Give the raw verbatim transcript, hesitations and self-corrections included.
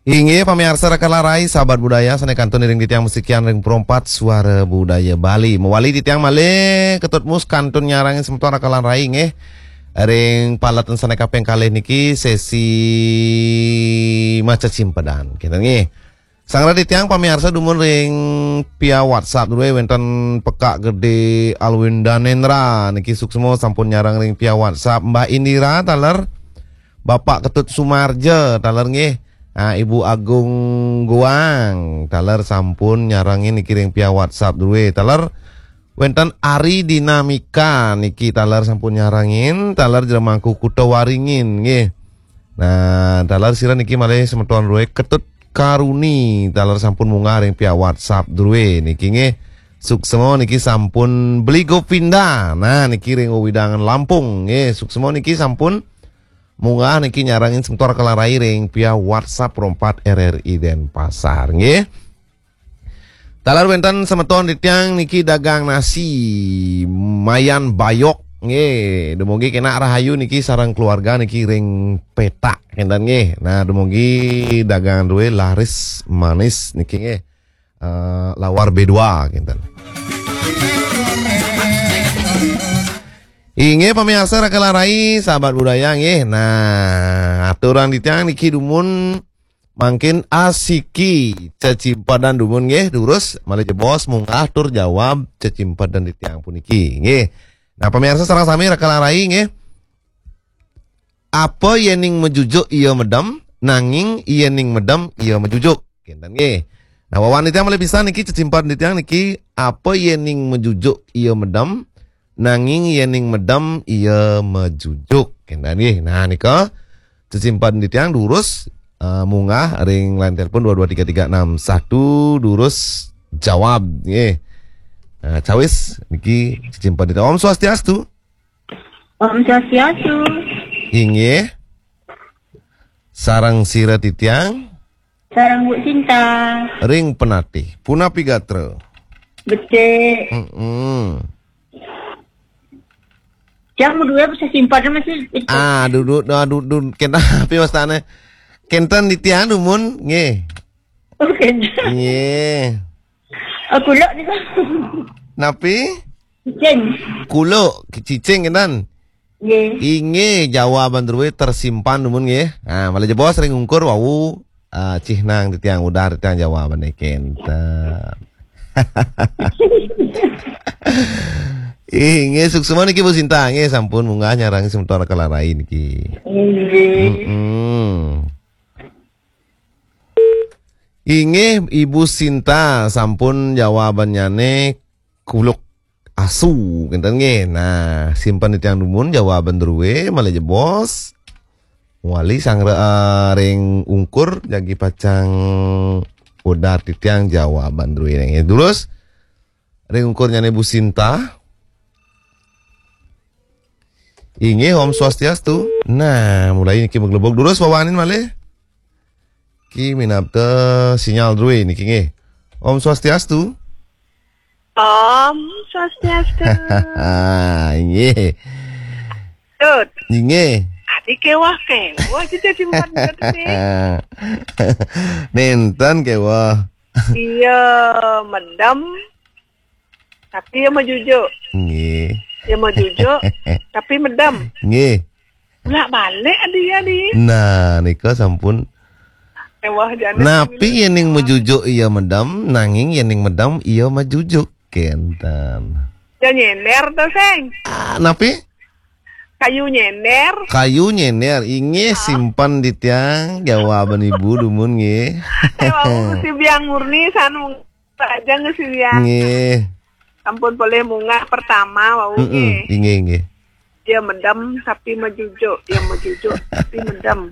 Inggih, pamiarsa Raka lan Rai, sahabat budaya, sané kantun iring titiang masikian ring Pro empat Suara Budaya Bali. Mawali titiang malih Ketut Mus kantun nyarengin semeton Raka lan Rai, nggih. Ring paletan sané kaping kalih niki sesi maca cimpedan. Kénten nggih. Sangra titiang pamiarsa dumun ring via WhatsApp duwe wénten Pekak Gedé Alwin Danendra niki suksma sampun nyareng ring via WhatsApp. Mbak Indira taler, Bapak Ketut Sumarja taler nggih. Ah, Ibu Agung Goang taler sampun nyarengin niki ring via WhatsApp duwe. Taler wénten Ari Dinamika niki taler sampun nyarengin, taler Jero Mangku Kuta Waringin nggih. Nah, taler sira niki malih semeton duwe Ketut Karuni taler sampun munggah ring via WhatsApp duwe niki nggih. Suksma niki sampun Beli Gopinda. Nah, niki ring wewidangan Lampung nggih. Suksma niki sampun munggah niki nyarengin semeton Raka lan Rai ring via WhatsApp Pro empat R R I Denpasar nggih. Taler wénten semeton titiang niki dagang nasi Mayan Bayok nggih. Dumugi kenak rahayu niki sareng keluarga niki ring Petak kénten nggih. Nah, dumugi dagangan duwe laris manis niki nggih. Eh, lawar B dua kénten. Inggih pamiarsa Raka lan Rai, sahabat budaya nggih. Nah, aturan titiang niki dumun mangkin asiki cecimpedan dumun nggih, durus malih jebos munggah tur jawab cecimpedan titiang puniki nggih. Nah, pamiarsa sareng sami Raka lan Rai nggih. Apa yéning majujuk iya medem, nanging yéning medem iya majujuk. Kénten nggih. Nah, wawan titiang malih pisan niki cecimpedan titiang niki, apa yéning majujuk iya medem, nanging yéning medem iya majujuk. Kénten nggih. Nah, nika cecimpedan titiang durus, eh, munggah ring line telepon dua dua tiga tiga enam satu, durus jawab nggih. Nah, cawis niki cecimpedan titiang. Om Swastiastu. Om Swastiastu. Inggih. Sareng sira titiang. Sareng Bu Sinta. Ring Penatih. Punapi gatra? Becik. Mm-mm. Jang duwe bisa simpan masih itu. Ah, duduk, ah, duduk, kena api wastane. Kenten titiang dumun, nggih. Oh, kenten. Nggih. Oh, kuluk niku. Napi? Cicing. Kuluk, cicing kenten. Nggih. Inggih, jawaban druwe tersimpan dumun nggih. Ah, malih jebos ring ungkur wau, ah, cihnang titiang udah titiang jawaban kenten. Inggih, suksma niki Bu Sinta, nggih sampun munggah nyarengin semeton Raka lan Rai niki. Inggih. Mm-mm. Inggih, Ibu Sinta, sampun jawabannyane kuluk asu, kenten nggih. Nah, simpen titiang dumun jawaban druwe, malih jebos. Wali sanggra, eh, ring ungkur, jagi pacang udah titiang jawaban druwe nggih. Durus, ring ungkurnyane Bu Sinta. Inggih, Om Swastiastu. Nah, mulai niki maglebug durus wawanin malih. Ki minabda sinyal druwe niki nggih. Om Swastiastu. Om Swastiastu. Ah, inggih. Tut. Inggih. Adi kewah, kewah aja jadi bukan ngerti. Nenten kewah. Iya, medem. Tapi ya majujuk. Nggih. Ya majujuk, tapi medem. Nggih. Bolak-balik adi ya, di. Nah, nika sampun. Kewah jane. Napi yening majujuk iya medem, nanging yening medem iya majujuk. Kenten. Ya nyender to, Seng. Ah, napi? Kayu nyender. Kayu nyender. Inggih, ah, simpen titiang jawaban Ibu dumun nggih. Eh, wau si Biang Murni sanu aja nggih si Biang. Nggih. Sampun polih munggah pertama wau. Mm-mm, nggih. Inggih, inggih. Dia medem tapi majujuk, dia majujuk tapi medem.